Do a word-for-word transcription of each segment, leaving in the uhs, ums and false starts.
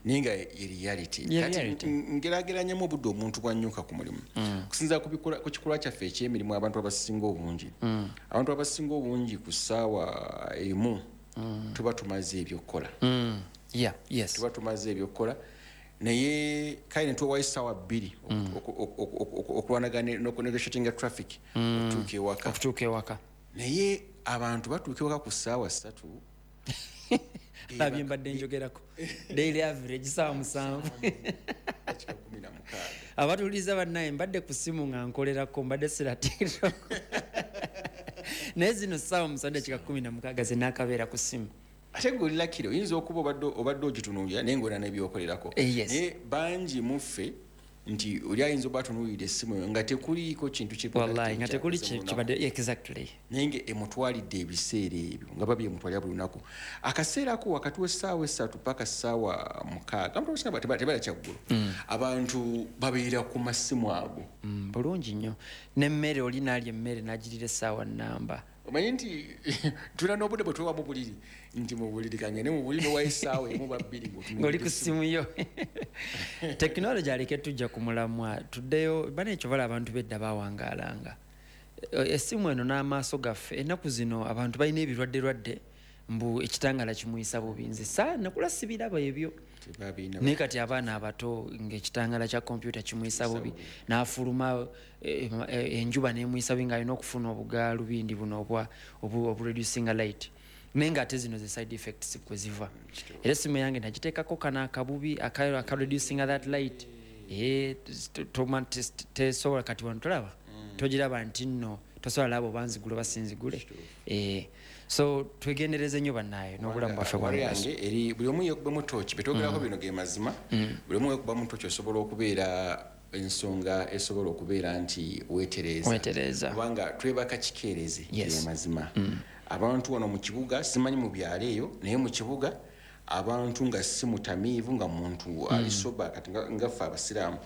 Naye nga ye reality. Ye Kati reality. ngerageranyamu obudde omuntu bwanyuka ku mulimu kusinziira ku bikola- ku kikolwa kyaffe ekyemirimu. Abantu abasinga obungi, abantu abasinga obungi ku ssaawa emu tuba tumaze ebyokukola. Mm. yeah yes Tuba tumaze ebyokukola, naye kale ne tuwayo essaawa bbiri oku- oku- oku- oku- okulwanagana n'okunegotiatinga traffic okutuuka ewaka. Okutuuka ewaka. Naye abantu batuuka ewaka ku ssaawa ssatu. Labye, mbadde njogerako daily average saawa musanvu. Dakika kumi na mukaaga. Abatuuliza bannaye, mbadde ku simu nga nkolerako, mbadde sira TikTok, naye zino saawa musanvu dakika kumi na mukaaga zenakabeera ku simu. Ate gwe olilakire oyinza okuba obadde obadde ogitunuulira, naye ngaolina nebyokolerako. Eh, yes. Naye bangi muffe nti oli ayinza oba atunuulira essimu eyo nga tekuliiko kintu ki Wallahi nga tekuli kyakoze mu lunaku. Kibadde exactly. Naye nga emutwalidde ebiseera ebyo nga babyemutwalira buli lunaku, akaseera ako wakati w'essaawa esatu paka ssaawa mukaaga, abantu abasinga teba- tebalya kyaggulo, abantu babeera ku masimu ago. Mm, bulungi nnyo, n'emmere oli naalya emmere n'agirira essaawa nnamba. Omanyi nti tulina n'obudde bwe twewa mu buliri, nti mu buliri kangende mu buliri, nowayo essaawa emu ba bbiri ng'oli ku ssimu yo. Tekinologi aleke tujja ku mulamwa, tuddeyo bana ekyo bala abantu bedda bawangaalanga. E- essimu eno n'amaaso gaffe ennaku zino, abantu balina ebirwadde-lwadde, mbu ekitangala kimuyisa bubi. Nze saa nakula sibiraba ebyo. Tebabirina. Naye kati abaana abato ng'ekitangala kya kompyuta kimuyisa bubi, n'afuluma eh, eh, enjuba nemuyisa bubi, ng'alina okufuna obugaalubindi buno obwa obu- obureducinga light, naye ng'ate zino ze side effects kwe ziva. Era essimu yange nagiteekako kano akabubi aka akareducinga that light. Eh, t- toma- tes- tesobola kati wano tolaba, togiraba nti nno tosobola laba oba nzigule oba sinzigule. Eh, so twegendereze nnyo bannaayo n'obulamu bwaffe bwa Wali mugaso. yange eri buli omu yekubamu tooki, betwogerako bino ge mazima. Buli omu yekubamu tooki, osobola okubeera ensonga esobola okubeera nti weetereeza. Weetereeza. Kubanga twebaka kikeerezi. Yes. Ge mazima, abantu wano mu kibuga, simanyi mu byalo eyo, naye mu kibuga abantu nga si mutamiivu, nga muntu ali sober, kati nga- nga ffe abasiraamu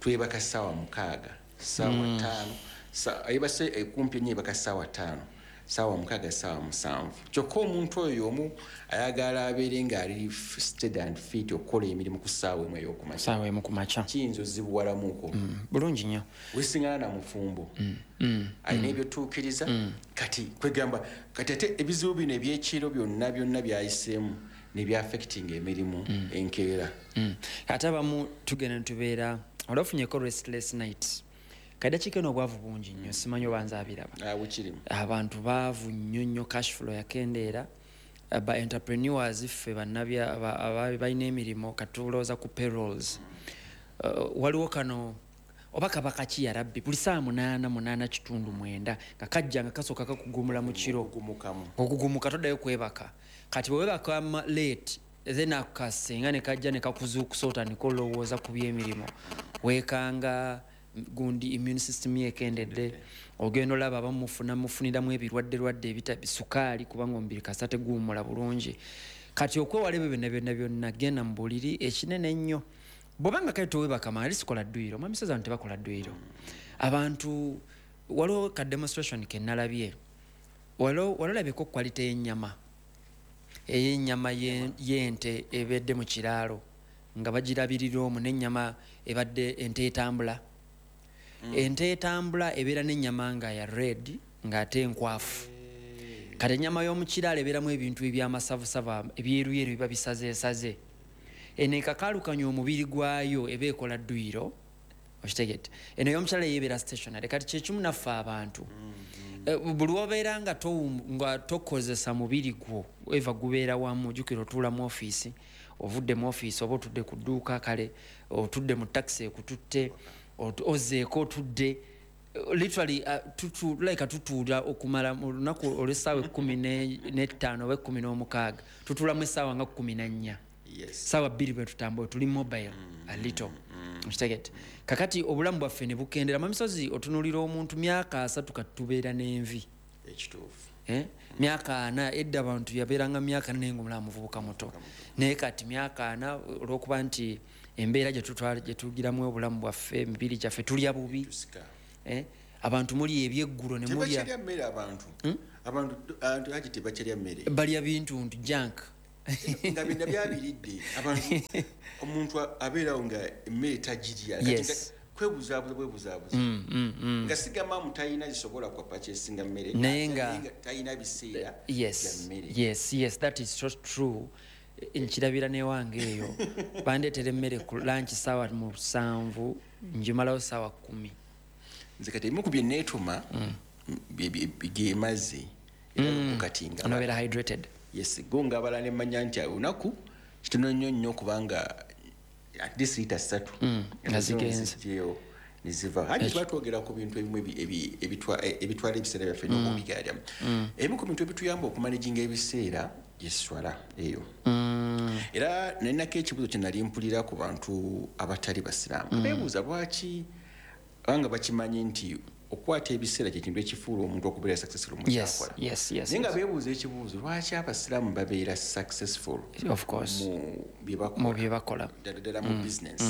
twebaka ssaawa mukaaga, ssaawa ttaano. Sa- ebase ekumpi ennyo ebaka ssaawa ttaano, ssaawa mukaaga, ssaawa musanvu. Kyokka omuntu oyo omu ayagala abeere ng'ali steady and fit okukola emirimu ku ssaawa emu ey'okumakya. Saawa emu ku makya. Kiyinza ozibuwalamuko. Bulungi nnyo. Wesiŋŋana na mufumbo alina ebyotuukiriza. Kati kwegamba kati ate ebizibu bino ebyekiro byonna byonna byayiseemu nebyaffecting emirimu enkeera. Mm. ate abamu tugenda netubeera oli ofunyeko restless nights. Kadakiika eno obwavu bungi nnyo, simanyi oba nze abiraba. Ah, bukirimu. Abantu baavu nnyo nnyo, cash flow yakendeera. Ba entrepreneurs ffe bannabya aba- aba- balina emirimu, katulowooza ku payrolls. Uh, waliwo kano oba kaba kaki ya rabbi, buli saa munaana, munaana kitundu, mwenda nga kajja nga kasooka kakugumula mu kiro. Ogumukamu. Okugumuka, toddayo kwebaka. Kati bwewebaka late, then akasenga ne kajja ne kakuzuukusa, otandika olowooza ku byemirimu, weekanga gundi immune system yekendedde, ogenda olaba abamufuna mufuniramu ebirwadde lwadde ebita sukaali, kubanga omubiri kasa teguwummula bulungi. Kati okwewala ebyo byonna byonna byonna, genda mu buliri ekinene ennyo. Bwobanga kale towebaka mangu, sikola dduyiro, mwami Sezano, tebakola dduyiro abantu. Waliwo ka demonstration kenalabye, waliwo olabyeko quality y'ennyama, ey'ennyama ye- y'ente ebedde mu kiraalo nga bagirabirira omwo, n'ennyama ebadde ente etambula. Ente etambula ebeera n'ennyama nga ya red ng'ate enkwafu. Kati ennyama y'omu kiraalo ebeeramu ebintu ebyamasavusavu ebyeruyeru, biba bisazeesaze. Eno ekakaalukanya omubiri gwayo, eba ekola dduyiro, okitegedde? Eno ey'omukyala yebeera stationary. Kati kyekimu naffe abantu. Eh, buli wobeera nga towu- nga tokozesa mubiri gwo, eva gubeera wamu. Jjukira otuula mu ofiisi, ovudde mu ofiisi oba otudde ku dduuka, kale otudde mu takisi ekututte, ot- ozzeeko otudde. Literally uh, tutu, like tutuula okumala mu lunaku olw'essaawa ekkumi ne- n'ettaano oba ekkumi n'omukaaga, tutuulamu essaawa nga kkumi na nnya. Yes. Saawa bbiri bwe tutambula, tuli mobile a little, okitegedde? Kakati obulamu bwaffe ne bukendera. Mamisozi, otunuulira omuntu myaka asatu, kati tubeera n'envi. Ekituufu. Eh? Myaka ana, edda abantu yabeeranga myaka naye nga omulaba muvubuka muto, naye kati myaka ana, olwokuba nti embeera gyetutwala gyetugiramu obulamu bwaffe, emibiri gyaffe, tulya bubi. Tusika. Eh? Abantu muli ebyeggulo ne mulya. Tebakyalya mmere abantu. Abantu abantu haji tebakyalya mmere. Balya bintu nti junk. Nga byonna byabiridde abantu, omuntu abeerawo nga emmere tagirya. Yes. Kwebuzaabuza bwebuzaabuza. Mm, mm, mm. Nga sigamba mu talina zisobola kwa purchasinga mmere, Naye nga- naye nga talina biseera yes bya mmere. yes yes that is so true. Nkirabira newange eyo, bandeetera emmere ku lunch saawa musanvu, njimalawo saawa kumi. Nze kati ebimu ku bye neetuma bye- bye- ge mazzi, era kati nga Onobeera hydrated. Yes, go nga abala ne mmanya nti olunaku kitono nnyo nnyo, kubanga at least lita ssatu Nga zigenze. Nzigyeyo neziva. Haji, tuba twogera ku bintu ebimu ebi- ebi- ebitwa- eh, ebitwala ebiseera byaffe n'okubigalya. Ebimu ku bintu ebituyamba okumanaginga ebiseera yeswala eyo. Era nalinako ekibuzo kye nali mpulira ku bantu abatali basiraamu, beebuuza lwaki, kubanga bakimanyi nti okukwata ebiseera kyekintu ekifuula omuntu okubeera successful mu yes kyakola. yes yes Naye nga beebuuza ekibuuzo, lwaki abasiraamu babeera successful Of course. mu bye bakola, Mu bye bakola. ddala ddala mu business?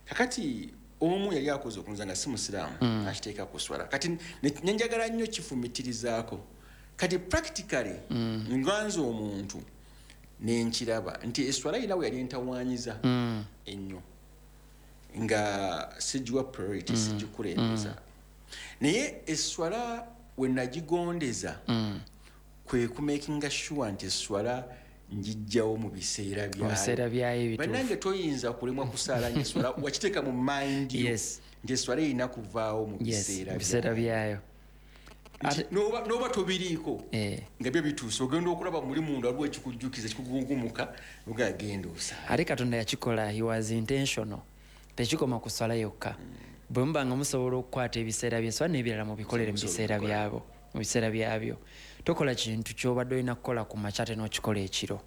Kakati omu yali akoze okunza nga si musiraamu, akiteeka ku swala. Kati ne- nenjagala nnyo kifumitirizaako. Kati practically nga nze omuntu nenkiraba nti eswala yina we yali entawanyiza ennyo, nga sigiwa priority, sigikulembeza. Naye eswala we nagigondeza kwe kumakinga sure nti eswala njijjawo mu biseera. Mu biseera byayo ebituufu. Bannange, toyinza kulemwa kusaala nga eswala wakiteeka mu mind yo Yes. nti eswala erina kuvaawo mu yes biseera mu biseera byayo. Nti n'oba n'oba tobiriiko, Eh. nga byo bituuse, ogenda okulaba muli munda waliwo ekikujjukiza, ekikugungumuka, ogagenda osaala. Ate Katonda yakikola, he was intentional. Tekikoma ku swala yokka. Bwe muba nga musobola okukwata ebiseera byeswala n'ebirala, mubikolere mu biseera byabo, mu biseera byabyo. Tokola kintu kyobadde olina kukola ku makya ate n'okikola ekiro.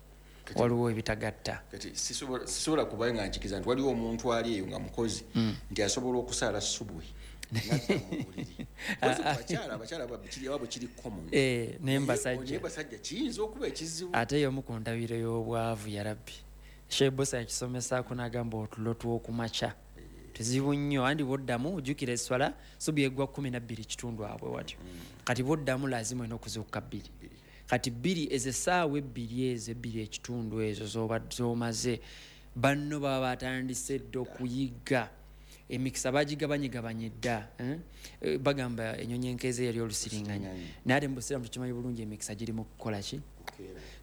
Waliwo ebitagatta. Kati sisobola sisobola kuba nga nkikiza nti waliwo omuntu ali eyo nga mukozi nti asobola okusaala subuhi nadda mu buliri. Mpozi ku bakyala, abakyala kiri ababwe kiri common. Eh, naye Naye mbasajja basajja kiyinza okuba ekizibu. Ate y'omu ku ndabiro y'obwavu. Ya rabbi, shebosa yakisomesaako n'agamba otulo tw'okumakya tuzibu nnyo. Andi bwoddamu ojjukira eswala subi eggwa kumi nabbiri kitundu abwe watyo. Kati bwoddamu lazima olina okuzuukuka bbiri. Kati bbiri ezo, essaawa ebbiri ezo, ebbiri ekitundu ezo z'oba- z'omaze, banno baba batandise dda okuyigga. Emikisa bagigabanyigabanye dda, eh? Eh, bagamba enyonyi enkeeze yali olusiringanya, naye ate mu busiraamu tukimanyi bulungi, emikisa giri mu kukola ki?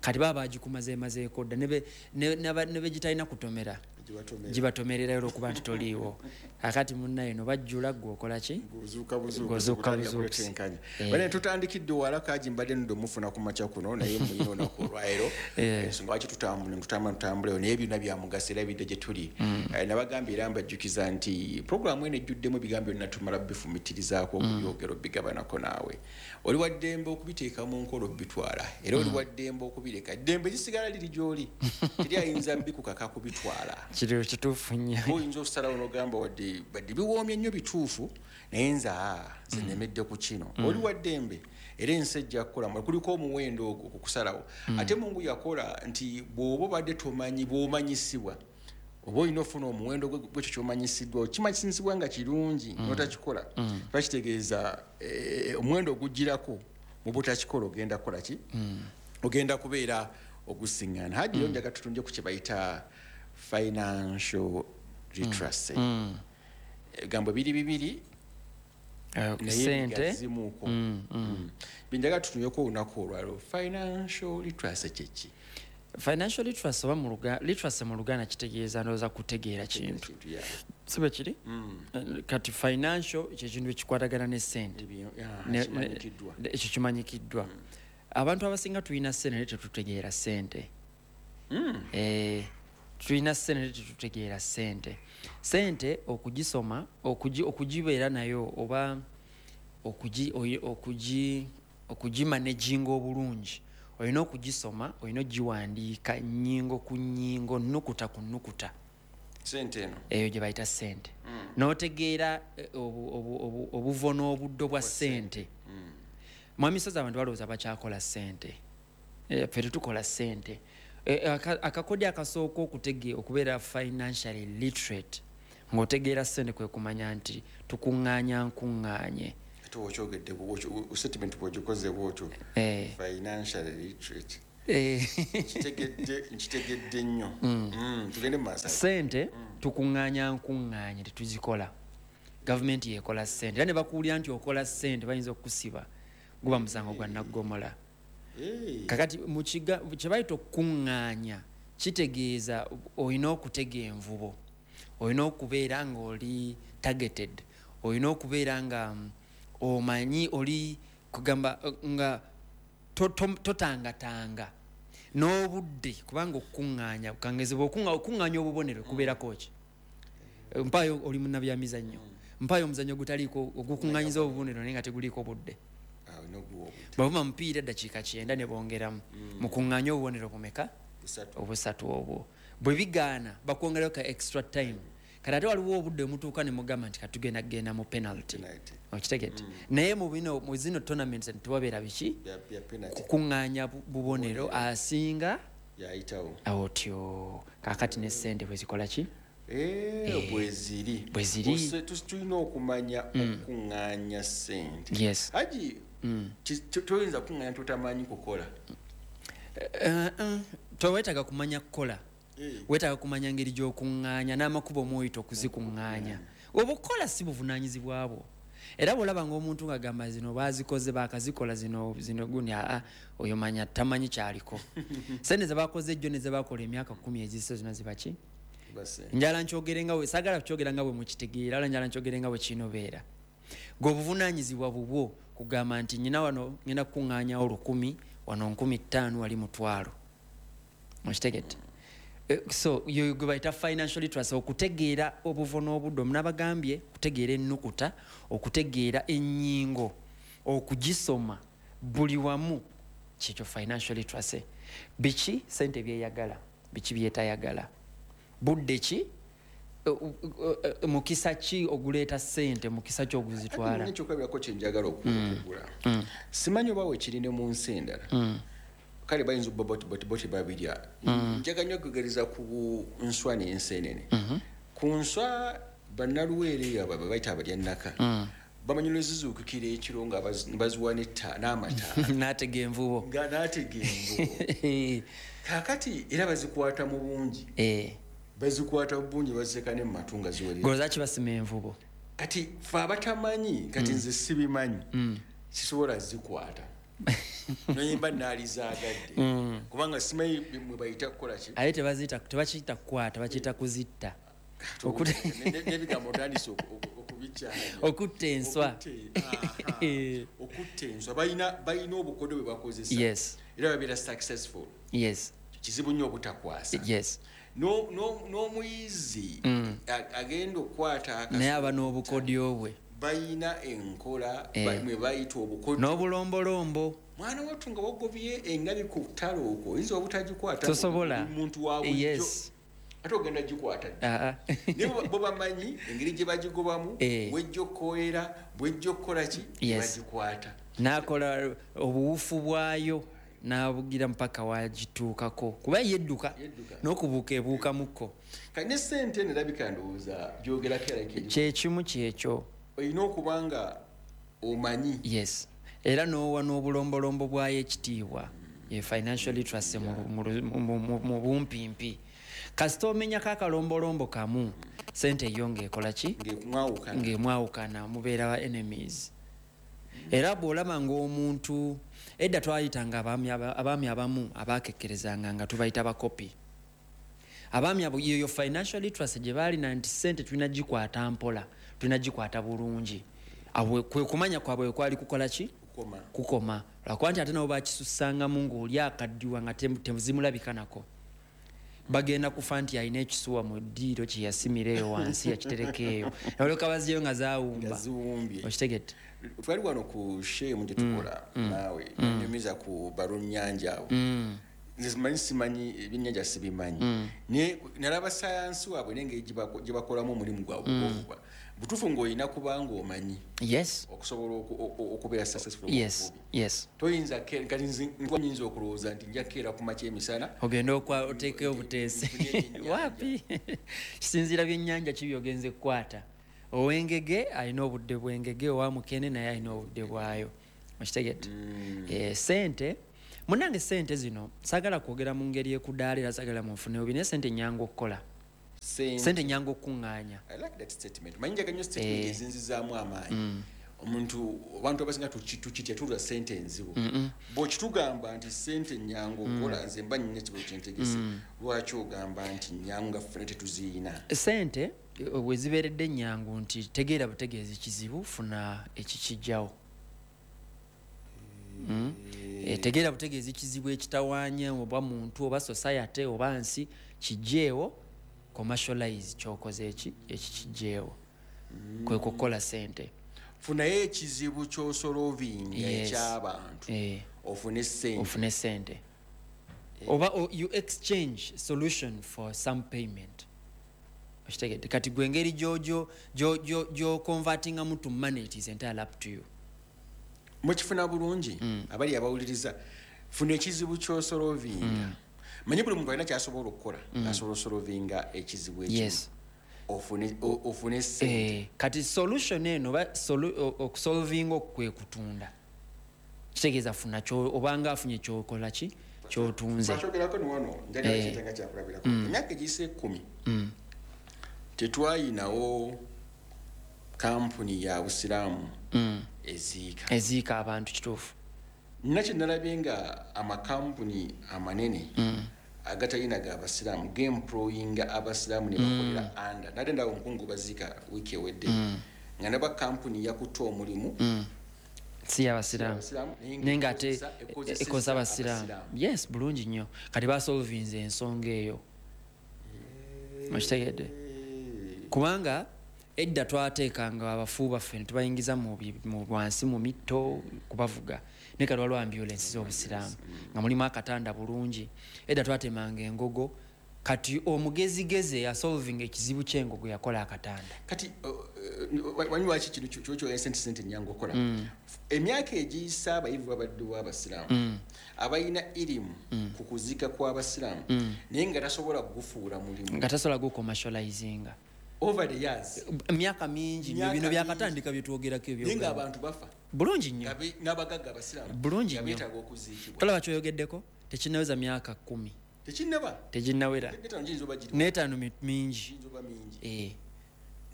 Kati baba bagikumazeemazeeko dda, ne ne- naba- ne begitalina kutomera Gibatomera. Gibatomererayo olwokuba nti toliiwo. Akati munnaye no bajjula, gwe okola ki? Ng'ozuuka buzuukusi, Ng'ozuuka kutandika buzuukusi. kuletenkanya. Eh. Bane tutandikidde wala kaji, mbadde nudde omufuna ku makya kuno, naye muyina olunaku olwaleero. Eh. Ensonga lwaki tutambula, tutambula, tutambulayo, naye byonna bya mugaso era bidde gye tuli. Mm. Eh, nabagambye era mbajjukiza nti puroguramu eno ejjuddemu ebigambo byonna, tumala bifumitirizzaako, Mm. okubyogera, obigabanako naawe. Oli wa ddembe okubiteeka mu nkola, obitwala, era oli Mm. wa ddembe okubireka. Eddembe lisigala liri gy'oli, teri ayinza bikukaka kubitwala. Kiri kituufu nnyo. Oyinza okusalawo nogamba, wadde badde biwoomye nnyo, bituufu, naye nze aa nze nemedde ku kino. Oli wa ddembe, era ensi ejja kukolamu kuliko omuwendo ogwo kukusalawo. Ate Mungu yakola nti bw'oba obadde tomanyi, bw'omanyisibwa, oba olina ofuna omuwendo gwe- gwekyo kyomanyisiddwa. Okimanyisibwa nga kirungi notakikola, kiba kitegeeza eh, omuwendo ogugirako mu butakikola ogenda kukola ki? Ogenda kubeera ogusiŋŋana. Haji, yo njaga tutunje ku kye bayita financial literacy. Ebigambo biri bibiri, Eh, naye sente bigazimuuko. Mm. Byenjaga tutunuleko olunaku olwaliro, financial literacy kyeki? Financial literacy oba mu Luga- literacy mu Luganda kitegeeza, ndowooza, kutegeera kintu. Kintu, yeah. Si bwe kiri? Eh, kati financial kyekintu ekikwatagana ne sente. Ebyo, yeah, Ne- ne- kimanyikiddwa. Ekyo kimanyikiddwa. Abantu abasinga tulina sente naye tetutegeera sente. Eh, tulina sente naye tetutegeera sente. Sente okugisoma, okugi- okugibeera nayo oba okugi- oyi- okugi- okugimanaginga obulungi, olina okugisoma, olina ogiwandiika nnyingo ku nnyingo, nukuta ku nukuta. Sente eno. Eyo gye bayita sente, n'otegeera eh, obu- obu- obu- obuvo n'obuddo bwa sente. Mwami Sozi, abantu balowooza bakyakola sente. Eh, ffe tetukola sente. Eh, aka- akakodyo akasooka okutege okubeera financially literate, ng'otegeera sente, kwe kumanya nti tukuŋŋaanya nkuŋŋaanye. Ate okyogedde, statement bwogikoze bwotyo, Eh. financial literate. Eh. Nkitegedde, nkitegedde nnyo. Mm, tugende mu maaso. Sente tukuŋŋaanya nkuŋŋaanye, tetuzikola. Gavumenti yekola sente, era ne bakuwulira nti okola sente bayinza okukusiba, guba musango gwa naggomola. Eh. Kakati mu kiga- kye bayita okukuŋŋaanya kitegeeza olina okutega envubo, olina okubeera ng'oli targeted, olina okubeera nga mm, omanyi oli kugamba eh, nga to- to- totangatanga n'obudde, kubanga okukuŋŋaanya kangezi okuŋŋaanya obubonero kubeerako ki? Mpaayo, oli munnabyamizannyo, mpaayo omuzannyo ogutaliiko ogukuŋŋaanyiza obubonero naye nga teguliiko budde. Ah, olina oguwa obudde. Bavuma mupiira eddakiika kyenda ne bongeramu, mukuŋŋaanye obubonero bumeka? Busatu. Obusatu. Obwo bwe bigaana bakwongerayo ka extra time. Kati ate waliwo obudde omutuuka ne mugamba nti katugenda kugenda mu penalty. Penalty. Okitegedde? Naye mu bino, mu zino tournaments tewabeera biki? Bya- bya penalty. Kukuŋŋaanya bu- bubonero, asinga yayitawo. Otyo kakati ne sente bwe zikola ki? Eh, bweziri. Bwe ziri. Ose- tu- tulina okumanya okuŋŋaanya sente. Yes. Haji, ki- to- toyinza kuŋŋaanya totamanyi kukola. Eh, eh, toweetaaga kumanya kukola. Eh. Weetaaga kumanya ngeri gy'okuŋŋaanya n'amakubo omwoyita okuzikuŋŋaanya. Obukola si buvunaanyizibwa bwo. Era bw'olaba ng'omuntu ng'agamba zino baazikoze, baakazikola zino zino gundi, aa, oyo manya tamanyi kyaliko. Sente ze bakoze ejjo ne ze bakola emyaka kumi ezise zonna ziba ki? Base. Njala nkyogere nga bwe saagala kukyogera nga bwe mukitegeera, ala njala nkyogere nga bwe kinobeera. Gwe obuvunaanyizibwa bubwo kugamba nti nyina wano ngenda kukuŋŋaanyawo lukumi, wano nkumi ttaano, wali mutwalo. Okitegedde? Eh, so yo gwe bayita financial literacy, okutegeera obuvo n'obudde. Omunabagambye okutegeera ennukuta, okutegeera ennyingo, okugisoma buli wamu, kyekyo financial literacy. Biki sente byeyagala, biki byetayagala, budde ki, eh, eh, eh, mukisa ki oguleeta sente, mukisa ki oguzitwala. Ekyokulabirako kyenjagala okugula, simanyi oba wekiri ne mu nsi endala, kale bayinza okuba bo tebabirya. Njagala nnyo okugereza ku nswa n'ensenene. Ku nswa, bannaluweero eyo abo bayita abalyannaka bamanyi lwezizuukukira ekiro nga bazi- baziwa n'etta- n'amataala. N'atega envubo. Nga n'atega envubo. Kaakati era bazikwata mu bungi. Eh, Bazikwata mu bungi, baziteeka ne mu matu nga ziwerera. Golooza ki basima envubo? Kati fe abatamanyi, kati nze sibimanyi, sisobola zikwata noyimba naalizaagadde, kubanga simanyi mwe bayita kukola ki. Aye tebaziyita, tebakiyita kukwata, bakiyita kuzitta. Okute- Ne- ne- n'ebigambo otandise oku- oku- okubikyanya. Okutta enswa. Okutte- aha. Okutta enswa, balina balina obukodyo bwe bakozesa. Yes. Era babeera successful. Yes kizibu nnyo obutakwasa. yes No- no- n'omuyizi a- agenda okukwata akaso, Naye aba n'obukodyo bwe. balina enkola Eh. ba- mwe bayita obukodyo. N'obulombolombo. Mwana wattu, nga wagobye engabi ku ttale okwo, oyinza obutagikwata. Tosobola. Oli muntu wa bulijjo, Yes. ate ogenda gikwata ddi? Ah, ah. Naye bo- bo bamanyi engeri gye bagigobamu, Eh. bwejja okukowera, bwejja okukola ki, Yes. bagikwata. N'akola obuwufu bwayo n'abugira mpaka wagituukako, kuba yedduka. Yedduka. N'okubuuka ebuukamukko. Kati ne sente eno erabika ndowooza gyogerako erabika eri- Kyekimu kyekyo. Olina okuba nga omanyi. Yes, era n'owa n'obulombolombo bwayo ekitiibwa. Ye financial literacy mu- mu- mu- mu- mu bumpimpi. Kasita omenyako akalombolombo kamu, sente yo ng'ekola ki? Ng'emwawukana. Ng'emwawukana, mubeera ba enemies. Era bw'olaba ng'omuntu edda twayitanga abaami aba- abaami abamu abakekkerezanga nga tubayita bakopi. Abaami abo yeyo financial literacy gye baalina nti sente tulina gikwata mpola, tulina gikwata bulungi. Abo kwe kumanya kwabwe kwali kukola ki? Kukoma. Kukoma, lwakuba nti ate nabo bakisussangamu ng'oli akaddiwa nga tem- tezimulabika nako, bagenda kufa nti alina ekisuwa mu ddiiro kye yasimira eyo wansi, yakitereka eyo, nalyoka baziyo nga nga zawumba. ziwumbye. Okitegedde? Twali wano ku shemu gye tukola naawe, nyumiza ku balunnyanja abo. Nze simanyi simanyi ebyennyanja, sibimanyi, naye nalaba sayansi waabwe nengeri gye bako- gye bakolamu omulimu gwabwe ogw'okuvuba. Butuufu ng'olina kubanga omanyi Yes okusobola oku- oku- okubeera successful mu yes buvubi. Yes Toyinza ke- kati nze nkuba nyinza okulowooza nti nja kukeera ku makya emisana ogende okwa oteekeyo obuteesi. Nfunye ebyennyanja. Wapi, kisinziira byennyanja ki byogenze kukwata. Ow'engege alina obudde bw'engege, owa mukene naye alina obudde bwayo. Okitegedde? Eh, sente Munange, sente zino saagala kwogera mu ngeri ekudaala, era saagala munfune bubi, naye sente nyangu okukola, sente nyangu okuŋŋaanya. I like that statement. Manyi njagala nnyo statement Eh. ezinzizaamu amaanyi. Omuntu, abantu abasinga tuki- tukitya, tulwa sente enzibu. Bw'okitugamba nti sente nyangu okukola, nze mba nnina ekibuzo kyentegese: lwaki ogamba nti nyangu nga ffena tetuziyina? Sente eh, bwe zibeeredde ennyangu nti tegeera butegeezi kizibu, funa ekikijjawo. Mm. Eh, tegeera butegeezi kizibu ekitawaanya oba muntu oba society oba nsi, kijjeewo, commercialize kyokoze eki ekikijjeewo, kwe kukola sente. Funayo ekizibu ky'osolvinga Yes. ekyabantu, Eh, ofune sente. Ofune sente oba o- you exchange solution for some payment, okitegedde? Kati gwe engeri gyoconvertingamu to money, it is entirely up to you. Mukifuna bulungi, abali abawuliriza? Funa ekizibu ky'osolvinga. Manyi buli muntu alina kyasobola okukola, asobola osolvinga ekizibu ekimu, Yes. ofune o- ofune sente. Eh, kati solution eno oba solu- o- okusolvinga okwo kwe kutunda, kitegeeza funa kyo- obanga afunye kyokola ki kyotunze. Twakyogerako ni wano, njagala Eh. kyetanga kyakulabirako. Emyaka egiyise ekkumi tetwayinawo kampuni ya busiraamu eziika. Eziika abantu, kituufu. Nina kyenalabye nga amakampuni amanene agatalina ga basiraamu gemployinga abasiraamu ne bakolera under. Nate ndawo omukungu baziika wiiki ewedde nga naba kampuni yakutte omulimu Si yabasiraamu. Abasiraamu, naye naye nga ate ekozesa- ekozesezza ekoza abasiraamu. Abasiraamu. Yes, bulungi nnyo. Kati basolvinze ensonga eyo, okitegedde? Kubanga edda twateekanga abafu baffe ne tubayingiza mu bi- mu wansi mu mitto kubavuga, naye kati waliwo ambulance z'obusiraamu nga mulimu akatanda bulungi. Edda twatemanga engogo, kati omugezigezi eyasolvinga ekizibu ky'engogo yakola akatanda. Kati uh, uh, wanyi lwaki kino kyokyo sente sente nyangu okola? Emyaka egiyise abayivu babaddewo abasiraamu abalina irimu ku kuziika kw'abasiraamu, naye nga tasobola kugufuula mulimu. Nga tasobola gucommercializinga. Over the years. Emyaka mingi nnyo. Myaka Bino mingi. byakatandika byetwogerako. Naye nga Ebyo abantu bafa bulungi nnyo. nga be- n'abagagga abasiraamu Bulungi nga nnyo. beetaaga okuziikibwa. Tolaba kyoyogeddeko tekinnaweza myaka kumi. Tekinnaba. Teginnawera. N'etaano giyinza oba giri N'etaano mi- mingi. Giyinza oba mingi. Eh,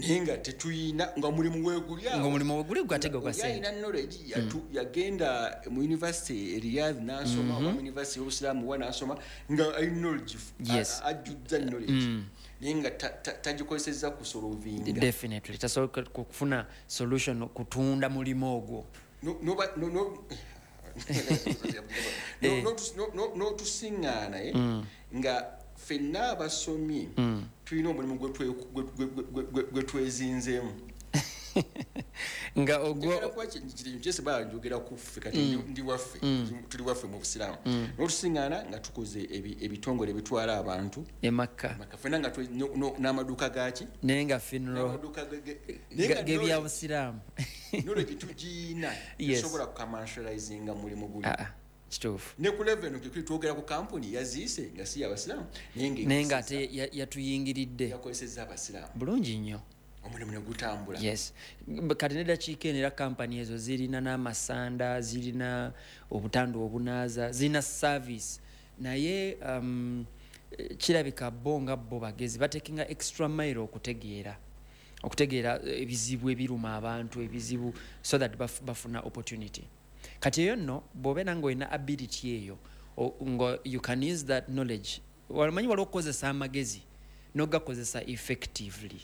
Naye nga tetuyina, nga omulimu weeguli awo. Nga omulimu weguli gwatega gwa Oli sente. alina knowledge, yatu- yagenda mu university e Riyadh n'asoma, oba mu university y'obusiraamu wa n'asoma, nga alina knowledge, Yes. a- ajjuzza knowledge, naye nga ta- ta- tagikozesezza kusolvinga. Definitely tasobola kufuna solution kutunda mulimu ogwo. No- noba- no- no- No- notus- no- no- n'otusiŋŋaana eh, nga ffenna abasomye tulina omulimu gwe twe- gwe- gwe- gwe- gwe- gwe twezinzeemu. Nga ogwo Njagala kuba ki- kiri kyese bala njogera ku ffe kati, ndi- ndi waffe, tuli waffe mu busiraamu, n'otusiŋŋaana nga tukoze ebi- ebitongole ebitwala abantu Emakka. Maka. Ffenna nga twe- no- no- n'amaduuka gaki Naye nga funeral n'amaduuka ge- ge- naye nga gebyabusiraamu. knowledge tugiina, Yes. tusobola kucommercializinga mulimu guli. Ah, ah, kituufu. Ne ku level eno kekuli twogera ku kampuni yaziise nga si yabasiraamu, naye nga Naye nga ate ya- yatuyingiridde. Yakozesezza abasiraamu. Bulungi nnyo. Omulimu ne gutambula. Yes. B- kati neddakiika eno era kampani ezo zirina n'amasanda, zirina obutanda obunaaza, zirina service, naye um, eh, kirabika bo nga bo bagezi batekinga extra mile okutegeera okutegeera ebizibu ebiruma abantu, ebizibu, so that baf, bafuna opportunity. Kati eyo nno bw'obeera nga olina ability eyo, o- nga you can use that knowledge. Wamanyi waliwo okukozesa amagezi n'ogakozesa effectively.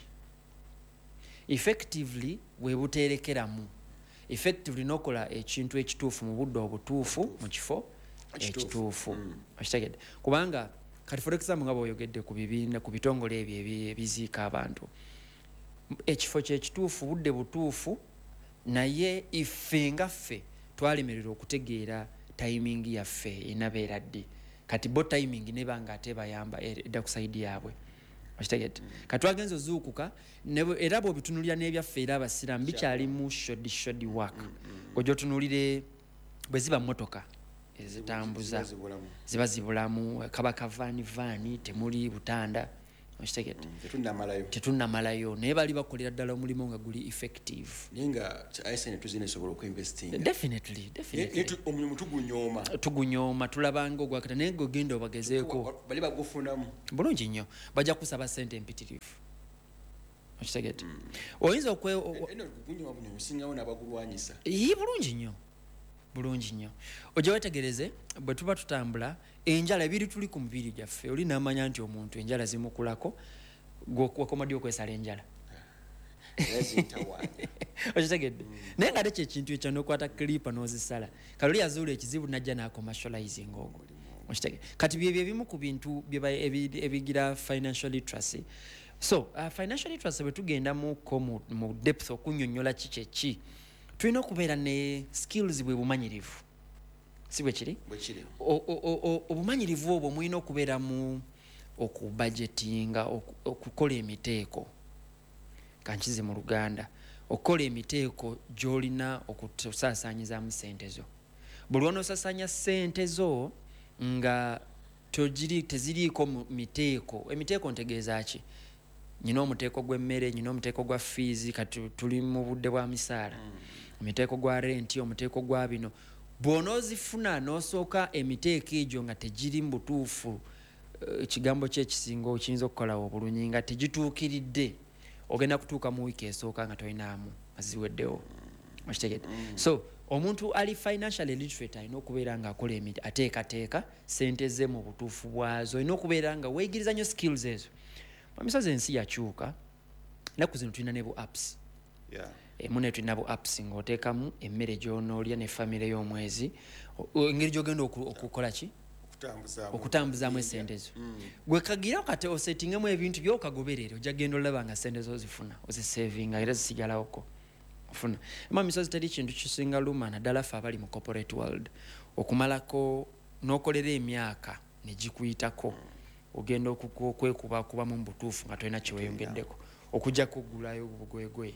Effectively bwe buterekeramu effectively n'okola ekintu ekituufu mu budde obutuufu mu kifo Ekituufu. ekituufu, okitegedde? Kubanga kati for example nga bw'oyogedde ku bibiina, ku bitongole ebyo ebi- ebiziika abantu, ekifo kyekituufu, budde butuufu, naye iffe nga ffe twalemererwa okutegeera timing yaffe enabeera ddi. Kati bo timing neba nga ate bayamba edda ku side yaabwe, okitegedde? Kati twagenza ozuukuka ne bwe- era bw'obitunulira n'ebyaffe era abasiraamu bikyalimu shoddy shoddy work. Ojja otunuulire bwe ziba motoka ezitambuza Ziba zibulamu. Ziba zibulamu, kaba kavaani vaani, temuli butanda, Okitegedde? Tetunnamalayo. Tetunnamalayo, naye bali bakolera ddala omulimu nga guli effective. Naye nga I S N tuzina esobola okuinvestinga. Definitely, definitely. Omulimu tugunyooma. Tugunyooma, tulabanga ogwakata, naye gwe genda obagezeeko. Bali bagufunamu. Bulungi nnyo, bajja kusaba sente empitirivu, okitegedde? Oyinza okwe o- o- Eno gugunyooma bunyooma, osingawo n'abagulwanyisa. Yi, bulungi nnyo, bulungi nnyo. Ojja wetegereze, bwe tuba tutambula, enjala ebiri tuli ku mubiri gyaffe, oli namanya nti omuntu enjala zimukulako. Gwe wakoma ddi okwesala enjala? Era zintawaanya. Okitegedde? Naye nga ate kyekintu ekyo nokwata clipper n'ozisala. Kale oli yazuula ekizibu, najja n'acommercializing ogwo, okitegedde? Kati byebyo ebimu ku bintu bye ba- ebi- ebigira financial literacy. So uh, financial literacy, bwe tugendamuko mu, mu depth okunyonyola ki kyeki, tulina okubeera ne skills, bwe bumanyirivu, si bwe kiri? Bwe kiri. O- o- o- o- obumanyirivu obwo mulina okubeera mu okubudgetinga, oku- okukola emiteeko, kankize mu Luganda, okukola emiteeko gy'olina okusaasaanyizaamu sente zo. Buli lwonoosaasaanya sente zo nga togiri, teziriiko mu miteeko. Emiteeko ntegeeza ki? Nyina omuteeko gw'emmere, nyina omuteeko gwa fees, kati tuli mu budde bwa misaala, omuteeko gwa renti, omuteeko gwa bino. Bw'onoozifuna n'osooka emiteeko egyo nga tegiri mu butuufu, eh, ekigambo kyekisinga okiyinza okukolawo obulungi, nga tegituukiridde, ogenda kutuuka mu wiiki esooka nga tolinaamu, nga ziweddewo, okitegedde? So omuntu ali financially literate alina okubeera nga akola emiti, ateekateeka sente ze mu butuufu bwazo. Olina okubeera nga weeyigiriza nnyo skills ezo. Mamisozi, ensi yakyuka, ennaku zino tulina ne bu apps. Yeah. Emu ne tulina bu apps ng'oteekamu emmere gy'onoolya ne famire y'omwezi, O- o- engeri gy'ogenda oku- okukola ki? Okutambuzaamu. Okutambuzaamu esente zo. Gwe kagira kate osetingemu ebintu byokagoberere, ojja genda olaba nga sente zo ozifuna, ozisavinga, era zisigalawoko ofuna. Ema misozi, teri kintu kisinga luma, naddala ffe abali mu corporate world, okumalako n'okolera emyaka negikuyitako, ogenda okwekubakubamu mu butuufu nga tolina kyeweyongeddeko okujjako okugulayo obugwegwe.